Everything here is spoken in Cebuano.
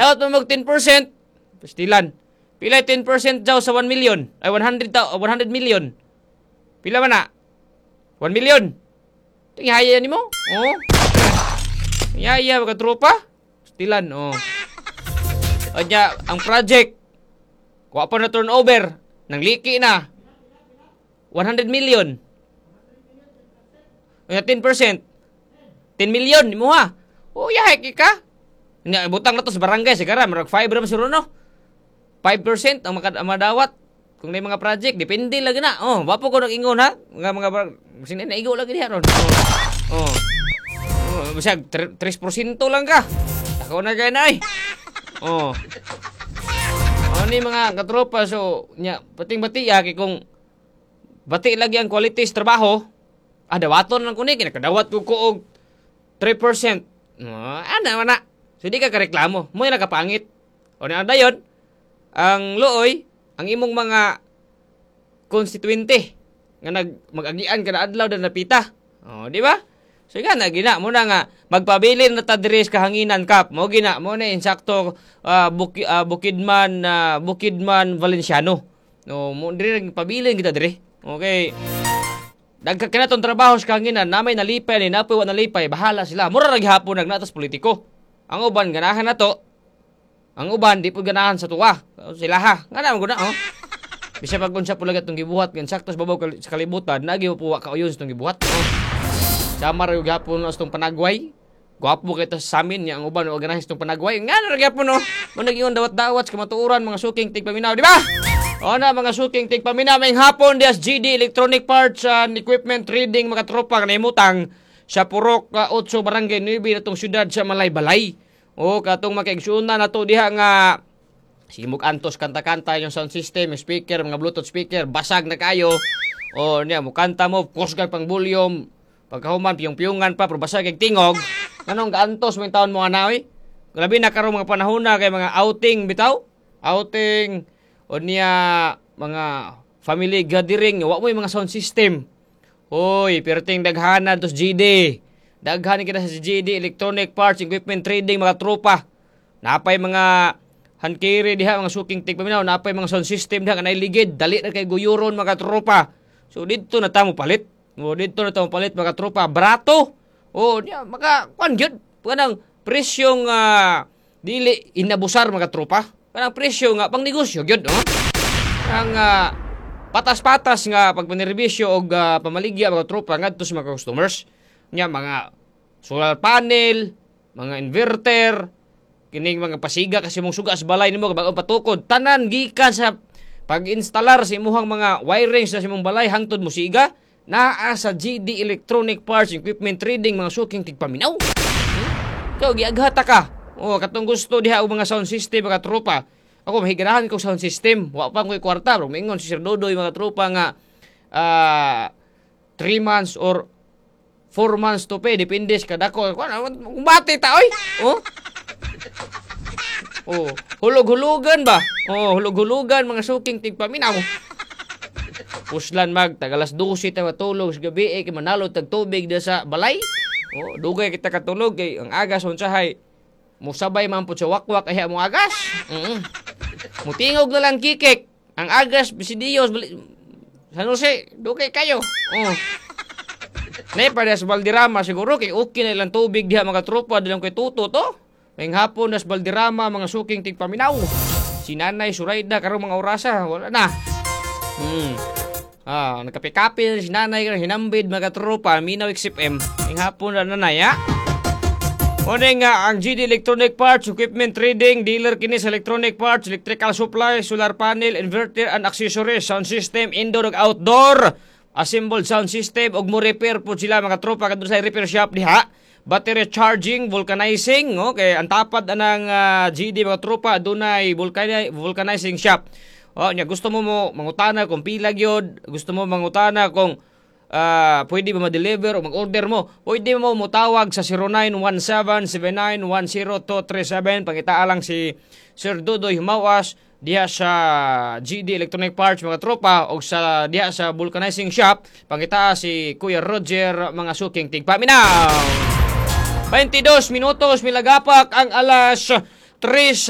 Dawat mo mag 10%. Pastilan. Pila 10% daw sa 1 million? Ay 100 100 million. Pila man na? 1 million. Tinghaya nimo? Oh. Yaya mga tropa. Pastilan, oh. Anya, ang project wa pa na turnover, nang liki na. 100 million. Anya 10%. 10 million nimo ha. Oh, yahay ka. Nya butang na to sa barangay sigara murag 5 ra man siguro, no. 5% ang madawat kung may mga project, depende lagi na. Oh, wa po ko nag-ingon ha. Mga mga sino naigo lagi diha ron. Oh. Oh. Oh, bisag 3% lang ka. Ako na kay na ay. Oh. Oh ni mga katropa, so nya pating bati ya kay kung bati lagi ang quality sa trabaho, ah dawaton lang kuni kay nakadawat ko og 3%. Oh, ana man na. So di ka kareklamo, mo nakapangit. O na dayon ang luoy ang imong mga konstituente nga nag mag-agian kada adlaw na napita. Oh, di ba? So nga na gina mo na nga magpabilin na ta diri sa kahanginan kap. Mo gina mo na insakto Bukidman Bukidman Valenciano. No, mo diri nagpabilin kita diri. Okay. Dagka kina tong trabaho sa kahanginan, namay nalipay ni napoy wa nalipay, bahala sila. Mura ra gihapon nagnatas politiko. Ang uban ganahan na to. Ang uban di pud ganahan sa tuwa. Sila ha. Nga na mo guna oh. Bisa pag unsa po lagi itong gibuhat, gan sakto sa babaw sa kalibutan, nagi mo po wa kauyon sa itong gibuhat. Oh. Sama ra yung gihapon sa itong panagway. Gwapo kay sa samin niya ang uban wa ganahan sa itong panagway. Nga na ra gihapon no. Mo nag-ingon dawat-dawat sa kamatuoran mga suking tigpaminaw, di ba? O na mga suking tigpaminaw, may hapon dias GD Electronic Parts and Equipment Trading mga tropa kanimutang sa Purok 8 Barangay 9 natong syudad sa Malaybalay. O katong makaigsunan nato diha nga simog antos kanta-kanta yung sound system, yung speaker, mga Bluetooth speaker, basag na kayo. O niya, mukanta mo, kusgag pang volume, pagkahuman, piyong-piyungan pa, pero basag kay tingog. Anong gaantos mo yung taon mo anawi? Grabe na karon mga panahon na kay mga outing bitaw. Outing, o niya, mga family gathering, wa mo yung mga sound system. Hoy, perting daghanan tos GD. Daghan kita sa GD Electronic Parts Equipment Trading mga tropa. Napay mga hankiri diha mga suking tigpaminaw, napay mga sound system diha kanay ligid, dali na kay guyuron mga tropa. So didto na ta mo palit. O didto na ta mo palit mga tropa, barato. O niya maka kuan gyud kanang presyong dili inabusar mga tropa. Kanang presyo nga pang negosyo gyud, oh. Ang patas-patas nga pagpanerbisyo og pamaligya mga tropa ngadto sa mga customers. Nya mga solar panel, mga inverter, kining mga pasiga kasi mong suga sa balay nimo bag-o patukod, tanan gikan sa pag-instalar sa imuhang mga wirings sa imong balay hangtod musiga naa sa GD Electronic Parts Equipment Trading mga suking tigpaminaw. Ikaw giaghata ka. Oh, katong gusto diha og mga sound system mga tropa. Ako mahiganahan ko sound system, wa pa ko'y kwarta, pero moingon si Sir Dodoy mga tropa nga 3 months or 4 months to pay, depende sa kadako. Kung bati ta oy. Oh. Oh, hulog-hulugan ba? Oh, hulog-hulugan mga suking tigpaminaw. Puslan mag tag alas 12 ta matulog sa gabi eh, kay manalo tag tubig da sa balay. Oh, dugay kita katulog kay ang agas unsahay musabay man pud sa wakwak ay mo agas. Mutingog na lang kikik. Ang agas bisidiyos San Jose, dugay kayo. Oh. Nay pa sa Valderrama siguro kay okay na ilang tubig diha mga tropa dilang kay tuto to. Ngayong hapon nas Valderrama mga suking tigpaminaw. Si Nanay Suraida karong mga orasa wala na. Ah, nagkape-kape na si Nanay karon hinambid mga tropa Minaw XFM. Ngayong hapon na nanay ha. Una nga ang GD Electronic Parts Equipment Trading dealer kini sa electronic parts, electrical supply, solar panel, inverter and accessories, sound system indoor ug outdoor, assembled sound system ug mo repair po sila mga tropa kadto sa repair shop diha. Battery charging, vulcanizing, okay, ang tapad anang GD mga tropa dunay vulcanizing shop. Oh, nya gusto mo mo mangutana kung pila gyud, gusto mo mangutana kung pwede ba ma-deliver o mag-order mo, pwede mo motawag sa 0917-7910237. Pangitaa lang si Sir Dudoy Humawas diha sa GD Electronic Parts mga tropa o sa diha sa vulcanizing shop. Pangitaa si Kuya Roger mga suking tigpaminaw. 22 minutos milagapak ang alas 3.